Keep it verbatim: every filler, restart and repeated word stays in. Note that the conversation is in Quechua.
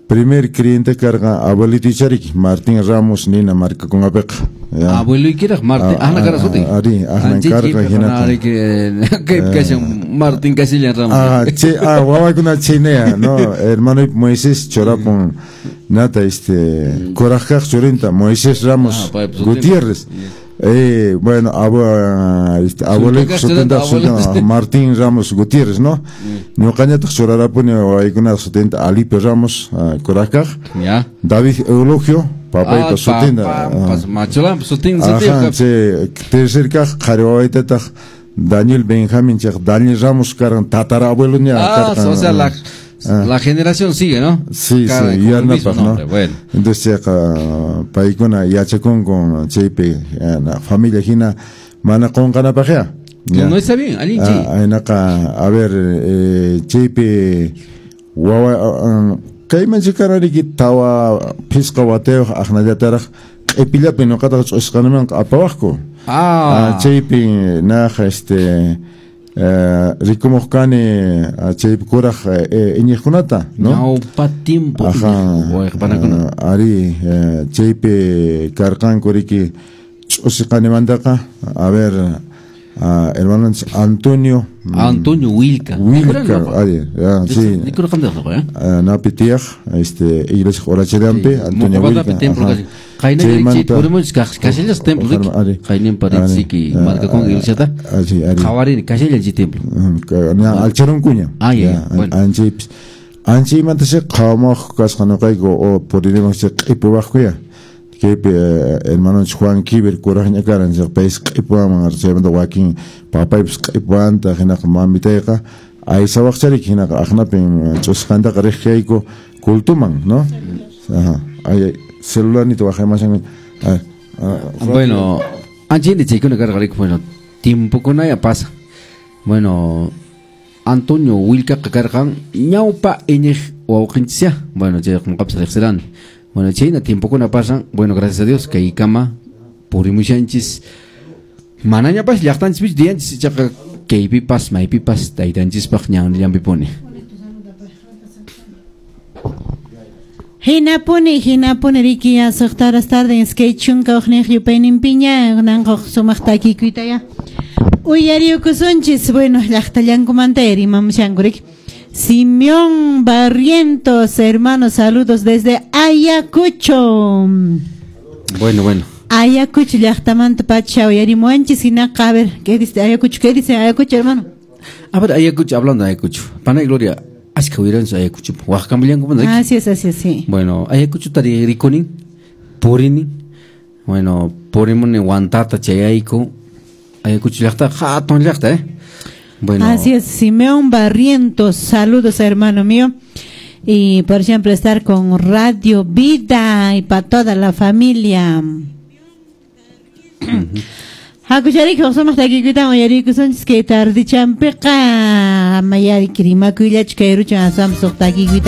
Primer creyente karqa abuelito charik Martín Ramos nina markakunapiqa. Abueloykiraq Martín, ahna kara sutin. Ari, ahna karqa hinata. Kay kashan Martín Casillan Ramos. Ah, che, ah, wawakuna chaynea, no, hermano Moisés chorapun nata este kuraqkaq churinta Moisés Ramos Ah, Gutiérrez. Eh, bueno, abu, este, abuelo sutinta sutinta Martín Ramos Gutiérrez, ¿no? Ñuqañataq churarapuni wawaykunaq sutinta Alipe Ramos kuraqkaq. Ya. David Eulogio, papaypa Ah, sutinta. pa, pa, machulan sutin sutin. Ajá, che, tercer kaq qhari wawaytataq Daniel Benjamin chaq Daniel Ramos karqan tatarabuelo ña Ah, karqan. o sea, la la generación sigue, ¿no? Sí, Cada sí, con el mismo yanapaq, ¿no? nombre, bueno. Entonces chayqa paykuna yachakunku chaypi na familia hina mana qunqanapaqya. No, no está bien, allin chay. Ah, aynaqa, a ver, eh, chaypi wawa kayman chikarariki tawa phisqa watayuq aqnallataraq q'ipillapi ñuqataqa ch'usqanimanqa apawaqku. Ah, Ah, chaypi naqa este eh, rikumuq kani chaypi kuraq eh, iñiqkunata, no? Ñawpa tiempo. Ajá. Wayqpanakuna. Ah, ari eh, chaypi karqanku riki ch'usiqanimantaqa, a ver, ah, hermano Antonio Antonio Wilca. Wilca, ari, ah, sí. Rikurqandiq, ¿eh? Ah, napi tiyaq, este iglesia Orachelampi, Antonio Wilca. Wilca. Templo ajá. kasi. Qayna Chaymanta- purimunchis kashallas templo riki. Ari. Qayninpa Ari. ritsiki markakun iglesiata. Ah, sí, ari. Qhawarini kashallan chay templo. Ña alcharunkuña. Ah, ya, ya, bueno. Anchaypis. Anchaymanta chay qhawamuq kasqa ñuqayku o puririmuq chay q'ipuwaqkuya. Kaypi hermanonchik Juan Kiber kuraqña karan chay paysi q'ipuwaman chaymanta wakin papaypis q'ipuwanta hinaqa mamitayqa aysawaqchariki hinaqa aqnapin ch'usqantaqa riq kayku cultuman, ¿no? Ajá. Ay, celularnito waqaymashan. Ah, ah, Bueno, anchayni chaykuna karqa riki, bueno, tiempokunaya pasa. Bueno, Antonio Wilcaqa karqan ñawpa iñiq wawqinchis. Bueno, chay ñuqapas riqsirani. Bueno, chayna tiempokuna pasan, bueno, gracias a Dios kaykama purimushanchis. Manañapas llaqtanchispichu diyanchis ichaqa kaypipas maypipas taytanchispaq ñanllanpipuni. Hinapuni, hinapuni riki ya suqta horas tarde iskay chunka hukniyuq yupayninpiña kunanqa sumaq takikuyta ya. Uyariyukusunchis, bueno, llaqtallankumanta rimamushanku riki. Simeón Barrientos, hermanos, saludos desde Ayacucho. Bueno, bueno. Ayacucho llaqtamanta pacha uyarimuwanchis hinaqa, a ver, ¿qué dice Ayacucho? ¿Qué dice Ayacucho, hermano? A ver, Ayacucho, hablando de Ayacucho. Pana y Gloria, ashka uyariwanchis Ayacucho. Waqkamullankumanta riki. Así es, así es, sí. Bueno, Ayacucho tari rikunin, purinin. Bueno, purimuni Huantata chayayku. Ayacucho llaqta, hatun llaqta, eh. Bueno. Así es, Simeón Barrientos, saludos hermano mío. Y por siempre estar con Radio Vida y para toda la familia. Hakucharik sumaq takikuyta uyariykusunchis kay tardichampiqa mayari rimakuyllachu kay ruchan aswanpas suq takikuyta.